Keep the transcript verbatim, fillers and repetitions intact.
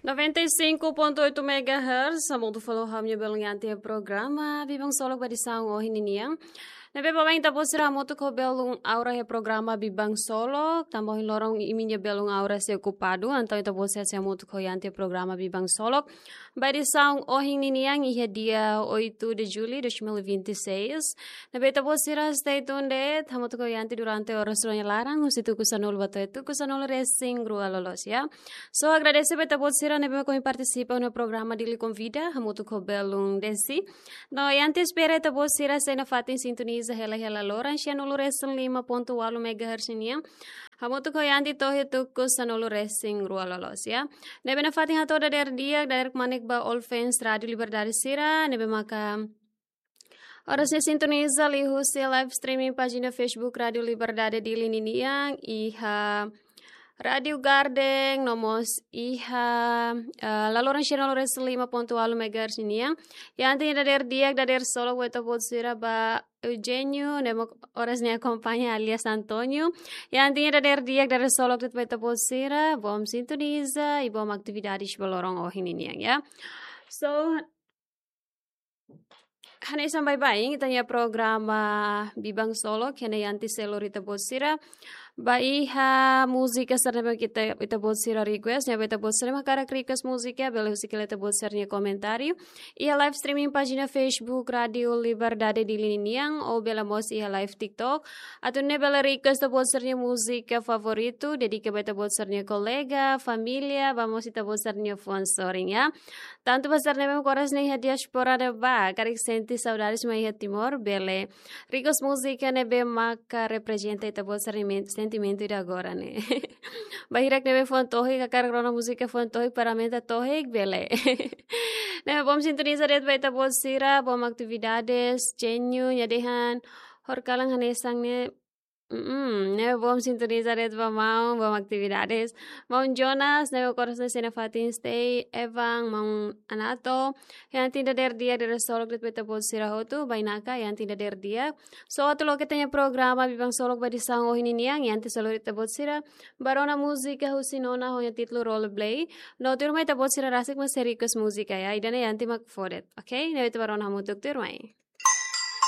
Noventa e cinco ponto oito megahertz, hamutuk fali ho ha'u-nia belun Yanti iha programa Biban Solok ba edisaun ohin ninian. Ne'ebé baibain ita-boot sira hamutuk ho belun Aura iha programa Biban Solok, tanba ohin loron imi-nia belun Aura sei okupadu, entaun ita-boot sira sei hamutuk ho Yanti iha programa Biban Solok ba edisaun ohin ninian iha dia oito de julho de dois mil e vinte e seis. Ne'ebé ita-boot sira stay tuned, hamutuk ho Yanti durante oras rua nia laran, husi tuku sanulu ba to'o tuku sanulu-resin-rua loloos, ya. So, agradese ba ita-boot sira ne'ebé mak ohin partisipa iha programa Dili Konvida, hamutuk ho belun Desi. No, Yanti espera ita-boot sira sei nafatin sintoniza hela iha laloran sianulu-resin-lima ponto ualu megahertz nian. Hamutuk ho Yanti to'o iha tuku sanulu-resin-rua loloos, ya. Ne'ebé nafatin hato'o dadeer di'ak, dadeer kmanek ba all fans Rádio Liberdade sira, ne'ebé maka oras ne'e sintoniza liuhusi live streaming pájina Facebook Rádio Liberdade Dili ninian, iha Rádio Garden, no mós iha, eh, laloran sianulu-resin-lima ponto ualu megahertz nian. Yanti nia dadeer di'ak, dadeer solok ba ita-boot sira ba Eugênio, ne'ebé mak oras ne'e akompaña alias António. Yanti nia dadeer di'ak, dadeer solok de'it ba ita-boot sira, bom sintoniza i bom atividades ba loron ohin ninian, ya. So, hanesan baibain ita-nia programa Biban Solok, iha ne'e Yanti sei lori ita-boot sira ba iha múzika sira ne'ebé ita, ita-boot sira request, ne'ebé ita-boot sira mak hakarak request múzika, bele husik hela ita-boot sira-nia komentáriu iha live streaming pájina Facebook Rádio Liberdade Dili ninian, ou bele mós iha live TikTok. Atu nune'e bele request ita-boot sira-nia múzika favoritu, dedika ba ita-boot sira-nia kolega, família, ba mós ita-boot sira-nia fuan sorin, ya. Tantu ba sira ne'ebé mak oras ne'e iha diáspora ne'ebá, karik sente saudades mai iha Timor, bele request múzika ne'ebé maka reprezenta ita-boot sira-nia men-, sentimentu ida agora ne'e. Ba hirak ne'ebé fuan tohik, hakarak rona múzika fuan tohik, para aumenta tohik, bele. Ne'e bom sintoniza de'it ba ita-boot sira, bom atividades, Jenyu, nia dehan, horikalan hanesan ne'e, mm, ne'e bom sintoniza de'it ba maun, bom atividades. Maun Jonas, ne'ebé mak oras ne'e sei nafatin stay, Evan, maun Anato. Yanti nia dadeer di'ak, dadeer solok de'it ba ita-boot sira hotu, bainaka, Yanti nia dadeer di'ak. So, atu loke ita-nia programa Biban Solok ba edisaun ohin ninian, Yanti sei lori ita-boot sira ba rona múzika husi Nona ho nia títulu Rollerblade. No tuirmai ita-boot sira rasik mak sei request múzika, ya, ida-ne'e Yanti mak fó de'it, oke? Ne'e ita ba rona hamutuk tuirmai.